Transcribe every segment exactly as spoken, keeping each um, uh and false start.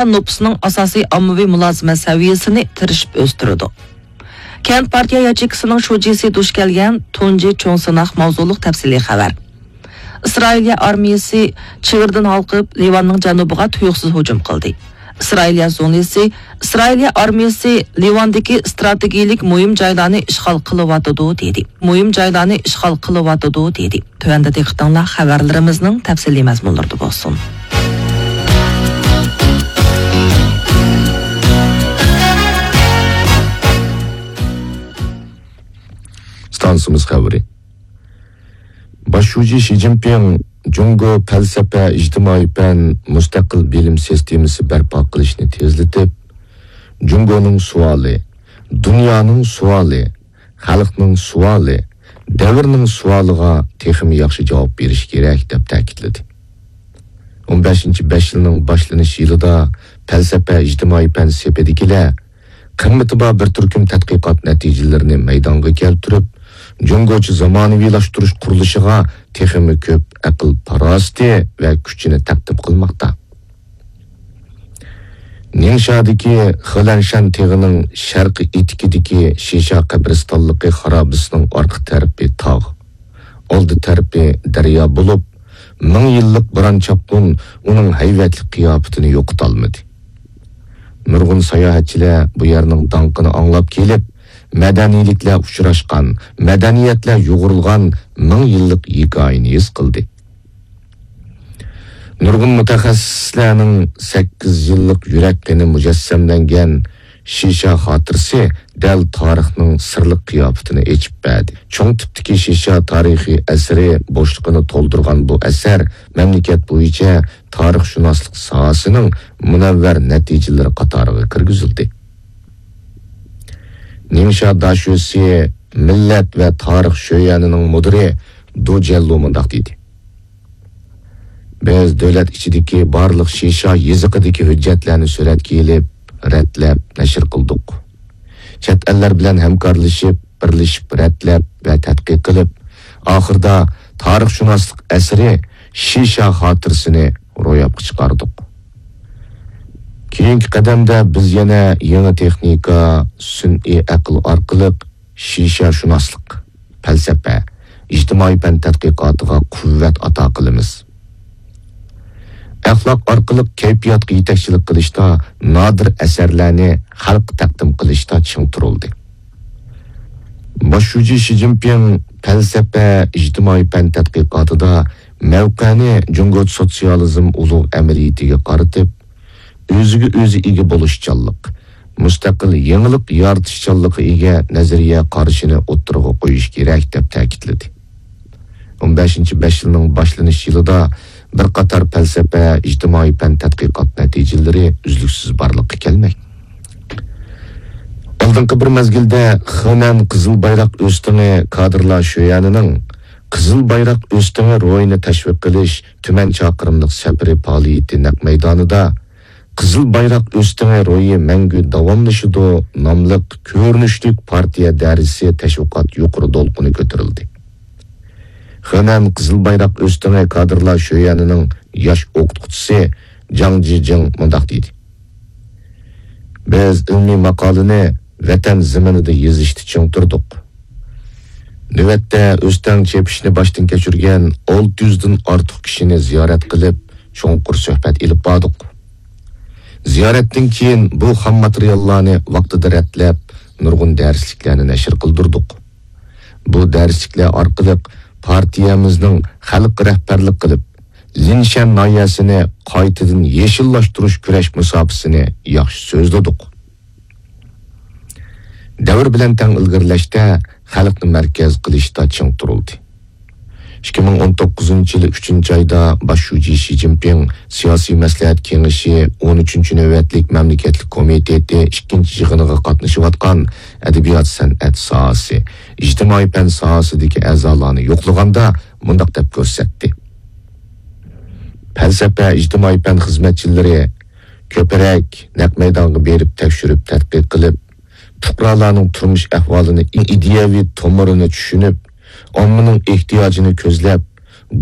نوپۇسنىڭ ئاساسىي ئاممىۋى مۇلازىمەت سەۋىيەسىنى تىرىشىپ ئۆستۈرىدۇ. كەنت پارتىيە ياچېيكىسىنىڭ شۇجىسى دۇچ كەلگەن تۇنجى چوڭ سىناق ماۋزۇلۇق تەپسىلىي خەۋەر. ئىسرائىلىيە ئارمىيەسى چېگرىدىن ھالقىپ، لىۋاننىڭ جەنۇبىغا تۇيۇقسىز ھۇجۇم قىلدى. ئىسرائىلىيە زۇڭلىسى، ئىسرائىلىيە ئارمىيەسى لىۋاندىكى ئىستراتېگىيىلىك مۇھىم جايلارنى ئىشغال قىلىۋاتىدۇ، دېدى. مۇھىم جايلارنى ئىشغال قىلىۋاتىدۇ، دېدى. تۆۋەندە دىققىتىڭلار خەۋەرلىرىمىزنىڭ تەپسىلىي مەزمۇنلىرىدا بولسۇن. ئىستانسىمىز خەۋىرى. باش شۇجى شى جىنپىڭ جۇڭگو پەلسەپە، ئىجتىمائىي پەن، مۇستەقىل بىلىم سىستېمىسى بەرپا قىلىشنى تېزلىتىپ، جۇڭگونىڭ سوئالى، دۇنيانىڭ سوئالى، خەلقنىڭ سوئالى، دەۋرنىڭ سوئالىغا تېخىمۇ ياخشى جاۋاب بېرىش كېرەك، دەپ تەكىتلىدى. ئون بەشىنچى بەش يىلنىڭ باشلىنىش يىلىدا پەلسەپە، ئىجتىمائىي پەن سېپىدىكىلەر قىممىتى بار بىر تۈركۈم تەتقىقات نەتىجىلىرىنى مەيدانغا كەلتۈرۈپ، جۇڭگوچە زامانىۋىلاشتۇرۇش قۇرۇلۇشىغا تېخىمۇ كۆپ ئەقىل پاراسىتى ۋە كۈچىنى تەقدىم قىلماقتا. نىڭشادىكى خېلەنشەن تېغىنىڭ شەرقىي ئېتىكىدىكى شىشا قەبرىستانلىقى خارابىسىنىڭ ئارقا تەرىپى تاغ، ئالدى تەرىپى دەريا بولۇپ، مىڭ يىللىق بوران-چاپقۇن ئۇنىڭ ھەيۋەتلىك قىياپىتىنى يوقىتالمىدى. نۇرغۇن ساياھەتچىلەر بۇ يەرنىڭ داڭقىنى ئاڭلاپ كېلىپ، مەدەنىيلىكلەر ئۇچراشقان، مەدەنىيەتلەر يۇغۇرۇلغان مىڭ يىللىق ھېكايىنى ھېس قىلدى. نۇرغۇن مۇتەخەسسىسلەرنىڭ سەككىز يىللىق يۈرەك قېنى مۇجەسسەملەنگەن شىشا خاتىرىسى دەل تارىخنىڭ سىرلىق قىياپىتىنى ئېچىپ بەردى. چوڭ تىپتىكى شىشا تارىخىي ئەسىرى بوشلۇقىنى تولدۇرغان بۇ ئەسەر مەملىكەت بويىچە تارىخشۇناسلىق ساھەسىنىڭ مۇنەۋۋەر نەتىجىلىرى قاتارىغا كىرگۈزۈلدى. نىڭشا داشۆسى مىللەت ۋە تارىخ شۆيەنىنىڭ مۇدىرى دۇ جيەنلۇ مۇنداق دېدى: بىز دۆلەت ئىچىدىكى بارلىق شىشا يېزىقىدىكى ھۆججەتلەرنى سۈرەتكە ئېلىپ، رەتلەپ، نەشر قىلدۇق. چەت ئەللەر بىلەن ھەمكارلىشىپ، بىرلىشىپ رەتلەپ ۋە تەتقىق قىلىپ، ئاخىرىدا تارىخشۇناسلىق ئەسىرى شىشا خاتىرىسىنى روياپقا چىقاردۇق. كېيىنكى قەدەمدە بىز يەنە يېڭى تېخنىكا، سۈنئىي ئەقىل ئارقىلىق شىشاشۇناسلىق، پەلسەپە، ئىجتىمائىي پەن تەتقىقاتىغا قۇۋۋەت ئاتا قىلىمىز. ئەخلاق ئارقىلىق كەيپىياتقا يېتەكچىلىك قىلىشتا، نادىر ئەسەرلەرنى خەلققە تەقدىم قىلىشتا چىڭ تۇرۇلدى. باش شۇجى شى جىنپىڭ پەلسەپە، ئىجتىمائىي پەن تەتقىقاتىدا مەۋقەنى جۇڭگو سوتسىيالىزم ئۇلۇغ ئەمەلىيىتىگە قارىتىپ، ئۆزىگە ئۆزى ئىگە بولۇشچانلىق، مۇستەقىل يېڭىلىق يارىتىشچانلىققا ئىگە نەزەرىيە قارىشىنى ئوتتۇرىغا قويۇش كېرەك، دەپ تەكىتلىدى. ئون بەشىنچى بەش يىلنىڭ باشلىنىش يىلىدا بىر قاتار پەلسەپە، ئىجتىمائىي پەن تەتقىقات نەتىجىلىرى ئۈزلۈكسىز بارلىققا كەلمەكتە. ئالدىنقى بىر مەزگىلدە خېنەن قىزىل بايراق ئۆستىڭى كادىرلار شۆيەنىنىڭ قىزىل بايراق ئۆستىڭى روھىنى تەشۋىق قىلىش تۈمەن چاقىرىملىق سەپىرى پائالىيىتى نەق مەيدانىدا قىزىل بايراق ئۆستىڭى روھى مەڭگۈ داۋاملىشىدۇ ناملىق كۆرۈنۈشلۈك پارتىيە دەرسى تەشۋىقات يۇقىرى دولقۇنى كۆتۈرۈلدى. خېنەن قىزىل بايراق ئۆستىڭى كادىرلار شۆيەنىنىڭ ياش ئوقۇتقۇچىسى جاڭ جىجىڭ مۇنداق دېدى: بىز ئىلمىي ماقالىنى ۋەتەن زېمىنىدا يېزىشتا چىڭ تۇردۇق. نۆۋەتتە ئۆستەڭ چېپىشنى باشتىن كەچۈرگەن ئالتە يۈزدىن ئارتۇق كىشىنى زىيارەت قىلىپ، چوڭقۇر سۆھبەت ئېلىپ باردۇق. زىيارەتتىن كېيىن بۇ خام ماتېرىياللارنى ۋاقتىدا رەتلەپ، نۇرغۇن دەرسلىكلەرنى نەشر قىلدۇردۇق. بۇ دەرسلىكلەر ئارقىلىق پارتىيەمىزنىڭ خەلققە رەھبەرلىك قىلىپ، لىنشەن ناھىيەسىنى قايتىدىن يېشىللاشتۇرۇش كۈرەش مۇساپىسىنى ياخشى سۆزلىدۇق. دەۋر بىلەن تەڭ ئىلگىرىلەشتە، خەلقنى مەركەز قىلىشتا چىڭ تۇرۇلدى. ئىككى مىڭ ئون توققۇزىنچى يىلى ئۈچىنچى ئايدا باش شۇجى شى جىنپىڭ سىياسىي مەسلىھەت كېڭىشى ئون ئۈچىنچى نۆۋەتلىك مەملىكەتلىك كومىتېتى ئىككىنچى يىغىنىغا قاتنىشىۋاتقان ئەدەبىيات، سەنئەت ساھەسى، ئىجتىمائىي پەن ساھەسىدىكى ئەزالارنى يوقلىغاندا مۇنداق دەپ كۆرسەتتى: پەلسەپە، ئىجتىمائىي پەن خىزمەتچىلىرى كۆپرەك نەق مەيدانغا بېرىپ تەكشۈرۈپ تەتقىق قىلىپ، پۇقرالارنىڭ تۇرمۇش ئەھۋالىنى، ئىدىيەۋى تومۇرىنى چۈشىنىپ، ئاممىنىڭ ئېھتىياجىنى كۆزلەپ،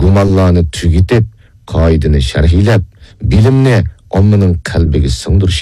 گۇمانلارنى تۈگىتىپ، قائىدىنى شەرھلەپ، بىلىمنى ئاممىنىڭ قەلبىگە سىڭدۈرۈش